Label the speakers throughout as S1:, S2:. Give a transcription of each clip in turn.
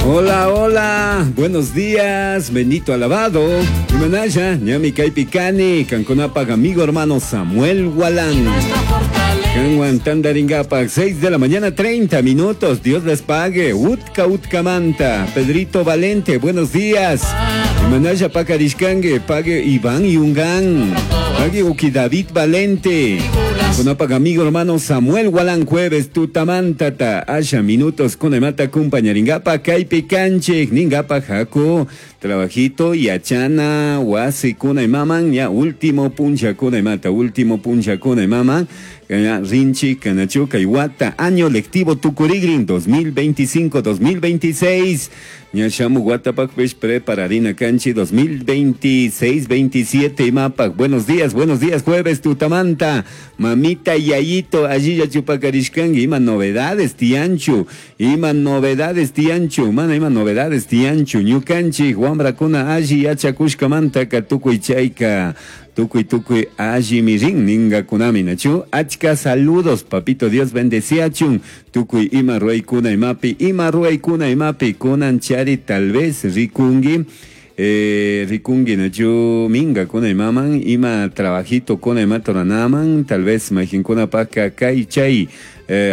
S1: Hola, hola, buenos días, bendito alabado. Imanalla, ñami kaypi kani, kankunapaj amigo hermano Samuel Gualán. Kanwan tandaringapak, 6 de la mañana, 30 minutos. Dios les pague. Utka Utkamanta. Pedrito Valente, buenos días. Imanalla pakarishkangue, pague Iván Yungán. Pague Uki David Valente. Kunapak amigo hermano Samuel Gualán jueves tutamantata. Asha minutos kunaymata kumpañaringapa kaypi kanchik ningapa haku trabajito yachana wasi kunaymaman ya último puncha kunaymata último puncha kunaymaman ya rinchi kanachu kay wata año lectivo tukurigrin 2025-2026 ña shamu watapakpish prepararina kanchi 2026-27 imapak buenos días buenos días jueves tutamanta mamita yayito allí ya chupakarishkangi ima novedades tianchu ima novedades tianchu mana ima novedades tianchu ñukanchik wambrakuna alli yachakushkamantaka tukuy chayka tukuy tukuy alli mirin ningakunami nachu achka saludos papito Dios bendeciachun tukuy ima ruwaykuna imapi ima ruwaykuna imapi kunan chari tal vez rikungi rikungi nachu minga kuna imaman ima trabajito kuna imatoranaman tal vez majinkuna paka kay chay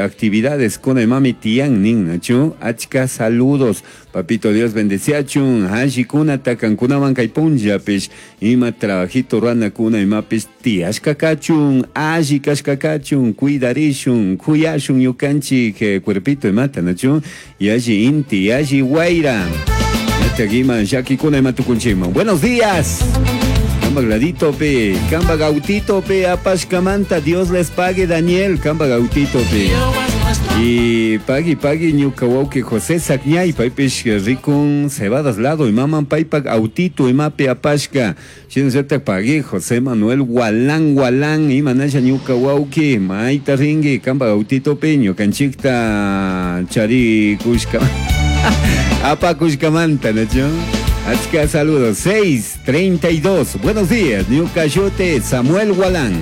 S1: actividades kuna imami tiyan nin nachu achka saludos papito Dios bendeciachun alli kuna takankunaman kay punllapish ima trabajito ruana kuna imapis tiyashka kachun alli kashka kachun cuidarishun kuyashun ñukanchik cuerpito imata nachu yalli inti yalli wayra Yachagima, llakikuna ima tukunchikman. Buenos días. Kamba gladito pe, kamba gautito pe, apashkamanta, Dios les pague Daniel, kamba gautito pe. Y pagui pagui ñuka wawki José Sakñay, paypish rikun cebadas lado y maman paypak autito imapi apashka. Shinallata pagui José Manuel Gualán Gualán, imanasha ñuka wawki, mayta ringi, kamba gautito pe, ñukanchikta chari kushka. Apakushkamanta, ¿no? Achka saludos. 6:32. Buenos días, ñuka shuti Samuel Gualán.